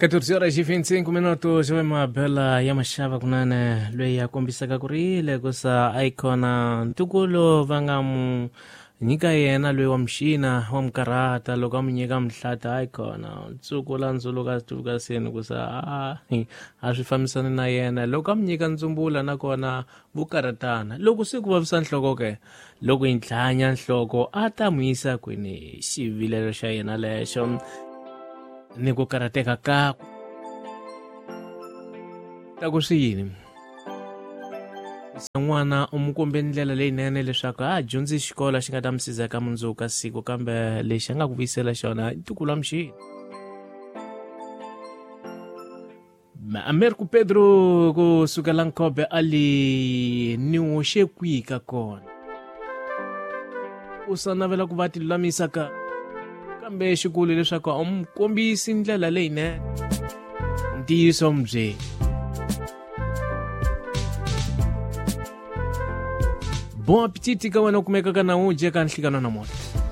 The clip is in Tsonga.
14 horas e 25 minutos we mabela ya maxava kunene loyi a kombisaka ku ri le ku sa icona ntukulu va nga mu nyika yena loyi wa muxina wa mukarata loko a mu nyika mihlata icona ntsukula la ndzuluka tuka seni ku sa a a swi fambisani na yena loko a mu nyika ndzumbula nakona vukaratana loko se ku vavisa nhloko ke loko yi ntlhanya nhloko a ta n'wi yisa kwini xivilelo xa yena lexo ni ku karhateka kakwe ta ku swi yini n'wana u n'wi kombe ndlela leyinene leswaku a dyondzi xikolo xi nga ta mi siza ka mundzuku ka siku kambe lexi a nga ku vuyisela xona i ntukulu wa muxini. Americo Pedro ku sukela Nkobe ali ni hoxe kwihi ka kona u sa navela ku va ti lulamisa ka kambe xikulu leswaku a mu kombisi ndlela leyinene ntiyiso mbyeni bon appetit ka wena u kumeka ka nawu dye ka nhlikano namuntlha.